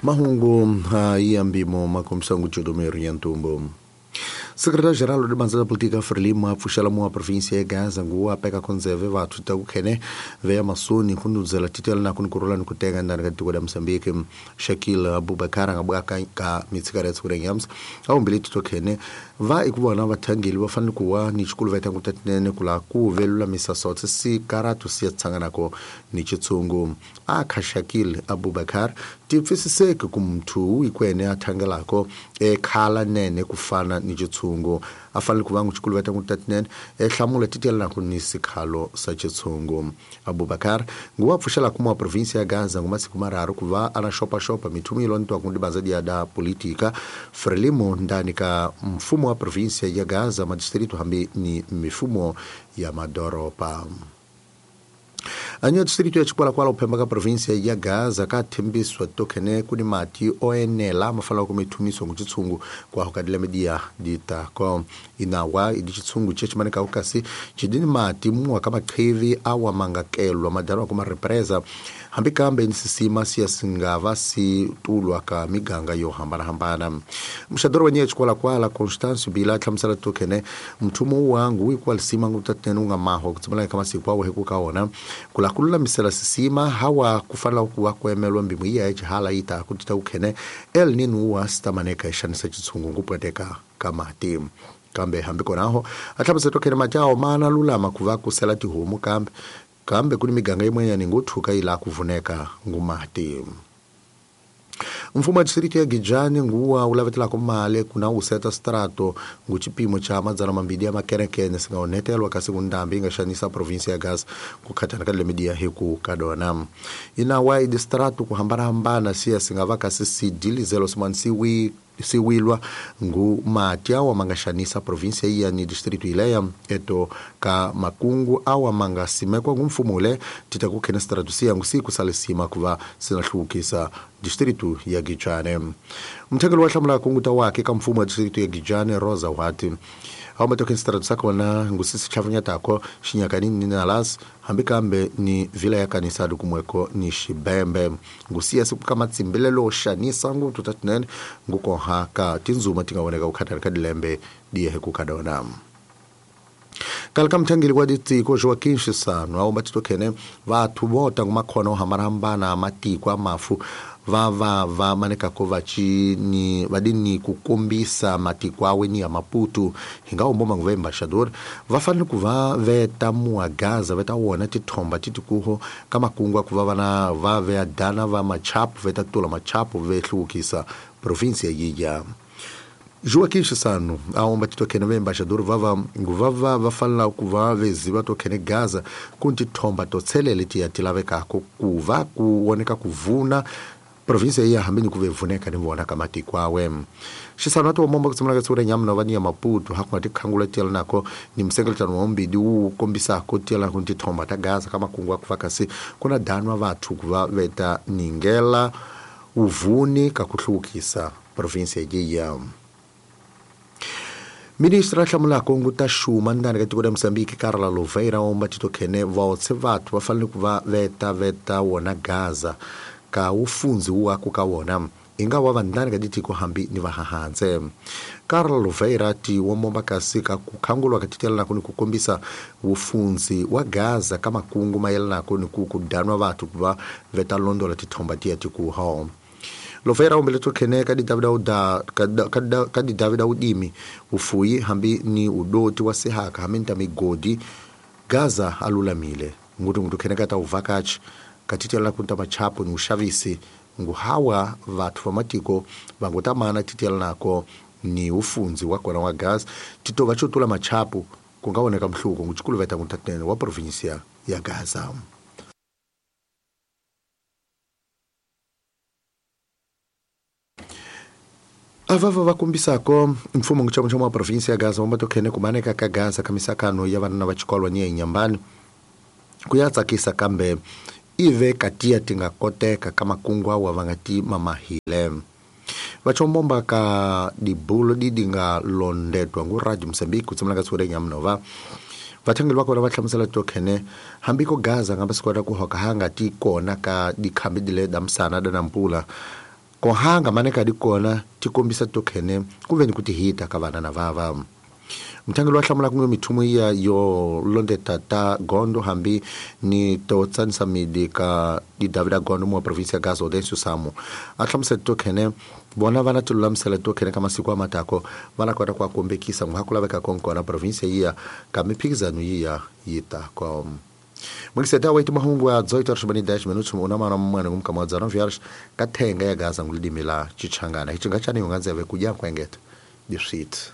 Mahungu ya mbimo makombisa ngucodomero ya ntumbu. Secretário-geral da Banza da Política Frelimo apfuxela mua província ya Gaza nguwa peka konzeve vathu ta kukhene veya masoni kundudzela titela na kunikurula ni kutenga ndani ka tiko la Mozambique. Shakil Abubakar nga bwaka ka mitsikara ya tsukura nyams awumbili tito khene va ikuvona vathangeli va fanele kuwa ni xikulu va tangu tatinene kula ku velulamisa sotse si karatu si ya tsanganako ni chitsungu. Akha Shakil Abubakar tipfisiseke ku muthu ikwene a thangelako ekhala nene kufana ni chitsungu a fanele ku va n'wi va tangu tatinene ehlamula titela na ku ni sikhalo sa chitsungu. Abubakar nguwa pfuxela kuma província ya Gaza ngumasiku mararu ku va ana xopaxopa mithumu yilontiwa ku ndibanza dia da política Frelimo ndani ka mfumo wa província ya Gaza madistrito hambi ni mifumo ya madoropa. Anyo distrito ya Chikwalakwala uphemba ka província ya Gaza ka thembiswa tokene kuni mati oenela mafala ku mithumiso nguchitsungu kwa hokadila media ditako inawa idi chitsungu chechimaneka ukasi chidini mati muwa ka maqhivi awa mangakelwa madarwa kuma represa hambi kambe nsisima siya singava si tulwa ka miganga yo hambanahambana. Mxadoro wenye Chikwalakwala Constance Bila hlamusela tokene mthumo wangu wikwalisima ngutatene unga maho kutsimela ka masiku awo hekukaona kula kululamisela sisima hawa kufanela kuwa kuemelwa mbimu iya echihala ita kutita ukhene El Nino wa sitamaneka exanisa chitsungu ngupweteka kamati. Kambe hambi konaho ahlamusela tokhene mati awo mana lulama kuva kusela tihomu kambe kambe kuni miganga imwenyani nguthuka ila kuvuneka ngumati. Mfumo wa distrito ya Gijani nguwa ulavetelako mali kuna useta strato nguchipimo cha madzana mambili ya makerekene singaonetelwa kasi kundambi ingaxanisa província ya Gaza kukhathana ka lemidia hiku kadona. Inawa idistrato kuhambanahambana siya singava kasi sidilizelo simani siwilwa ngu mati awa mangaxanisa província iya ni distrito ileya eto ka makungu awa mangasimekwa ngumfumo ule tita kukhena strato siya ngusiku salisima kuva sinahlukisa distrito ya Gijane. Mthengeli wa hlamula kunguta wake ka mfumo wa distrito ya Gijane Rosa Wati awu matoken strato sakona ngusisi chavunyatako xinyakanini ni nalas hambi kambe ni vila ya kanisa dukumweko ni xibembe ngusiya siku ka matsimbelelo xanisa ngutu tatinene ngukoha ka tinzuma tingawoneka kukhathana ka dilembe diyehe kukadona. Kalka mthangeli wa ditiko Joaquim Chissano awu matitokhene vathu vota ngumakhona ohambanahambana amatiko amafu va manekako vachini vadini kukombisa matiko awe ni ya Maputo hinga umboma nguva embaixador va fanele ku va veta mua Gaza veta wona tithomba titikuho ka makungu ku va vana va veya dana va machapu veta tula machapu ve hluvukisa província yiya. Joaquim Chissano aomba titokene va embaixador vava va fanela ku va veziva tokene Gaza ku tithomba to tshelele tiya ti lavekako ku va ku woneka ku vuna província iya hambini ku vevuneka ni vona ka matiko awe. Xisano ati womomba kutsimula ka tsura nyamna va ni ya Maputo hakunga tikhangula tiyela nako ni msengeletano wa mbidi wu kombisako tiyela ku tithomba ta Gaza ka makungu a ku va kasi ku na danwa vathu ku va veta ningela uvuni ka ku hluvukisa província yiya. Ministra hlamulako nguta xuma ndani ka tiko la Mozambique Carla Louveira omba titokhene vaotse vathu va fanele ku va veta wona Gaza ka ufunzi wako ka wona inga wa vandani ka ditiko hambi ni vahahanse. Carla Louveira ti womomba kasi ka kukhangulwa ka titela nako ni kukombisa ufunzi wa Gaza ka makungu mayelana nako ni ku kudanwa vathu ku va veta londola tithomba tiya tikuho. Louveira umbele tokhene ka di Davida udimi ufuyi hambi ni udoti wa sihaka hambi nta migodi Gaza alulamile ngutu khene ka ta uvakachi katitela kunta machapo ni ushavisi nguhawa vathu va matiko vangutamana titela nako ni ufunzi wa kona wa Gaza tito va chotula machapo kungawoneka mhluko nguchikulu veta ngutatene wa província ya Gaza. Avava vakumbisako mfumo nguchamuchamu wa província ya Gaza wamatokhene kumaneka ka Gaza kamisakano ya vanana va xikolwa ni ya inyambani kuyatsakisa kambe ive katia tingakoteka ka makungu awa va nga ti mamahile. Vachombomba ka dibulo didi nga londetwa ngu Radio Mozambique kutsimula ka tsure nyamnova vathangeli va kona va hlamusela tokhene hambi ko Gaza nga va swi kota ku hoka hanga ti kona ka dikhambi dile da msana da nampula Kohanga maneka di kona ti kombisa to khene ku ve ni ku tihita ka vana na vava. Muthangi loyi a hlamulaka ngo mithumo iya yo londeta ta gondo hambi ni to tsanisa midi ka di Davida Gondo mu wa provinsia ya Gaza Audencio Samu a hlamusela to khene vona va na ti lulamisela to khene ka masiku a matako va na kota ku a kombekisa n'wa ku laveka konkona provinsia yiya ka miphikizano yiya yi tako. Mwingiseta wa mahungu ya 8:10 minutos una mana mwana ngumkama wa 19 horas ka thenga ya Gaza ngulidimi la Chichangana. Hichi ngachani unganzeve kudya kwengeta. Diswit.